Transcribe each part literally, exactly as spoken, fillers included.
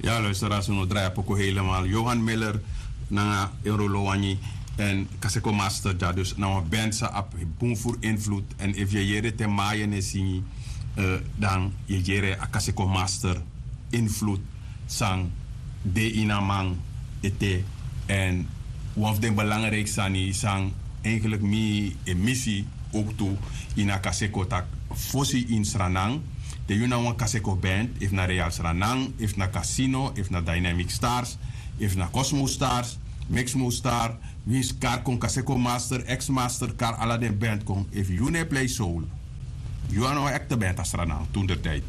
Ya, luisteraars, un o drai a poku helemaal. Johan Miller nanga Enrolo Wanyi en Kaseko Master dya. Dus na wan band san abi bun furu invloed. En efu yu e yere te Mayen e singi, eh, dan yu e yere a Kaseko Master invloed san de ini a man ete. En wan fu den belangrijk sani san eigenlijk mi e misi ook tu ini a Kaseko, tak' fosi ini Sranan, te yu na wan Kaseko band, efu na Real Sranan, efu na Casino, efu na Dynamic Stars, efu na Cosmo Stars, Mixmo Star, winsi kari kon, Kaseko Master, X Master, kari ala den band kon. Efu yu no e play soul, yu a no wan ekte band a Sranan toen der tijd.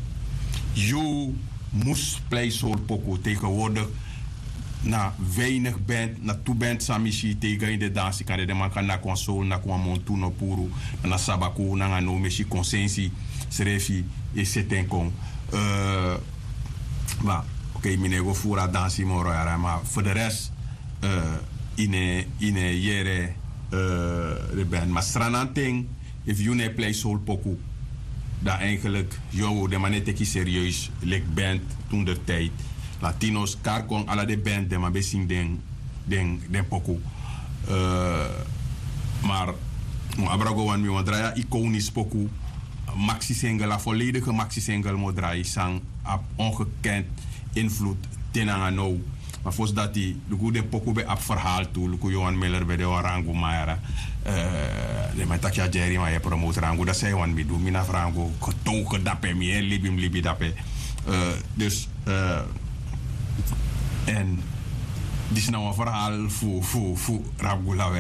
Yu mus play soul poku. Tegenwoordig na weinig band, na tu band san mi si te yu go ini den dansi, kande den man kan naki wan soul, naki wan montu no puru. Na Sabaku nanga No Mesi Konsensi srefi e seti en kon. Eh, ma, oké, mi no e go furu a dansi moro yara, ma voor de rest, eh, yu no e, yu no e yere, eh, den band. Ma Sranan ten, efu yu no e play soul poku, dan eigenlijk, yo, den man no e teki serieus leki band toen der tijd. Latino's, kari kon, ala den band, den man ben singi den, den, den poku. Eh, maar, mi o abra go, want mi wani drai a iconisch poku, maxi single, a volledige maxi single mi o drai, san abi ongekend invloed te nanga now. Ma fosi dati, luku, den poku ben abi verhaal tu. Luku, Johan Miller ben de wan rangu man yara. Eh, den man e taki: "A Jerry, ma yu e promote rangu." Dati san yu wani mi du, mi na fu rangu, getogen dape, mi e libi, mi libi dape. Eh, dus, eh, en disi na wan verhaal fu, fu, fu Rap Gula.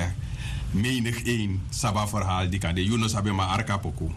Menigeen sabi a verhaal, di kande yu no sabi, ma arki a poku.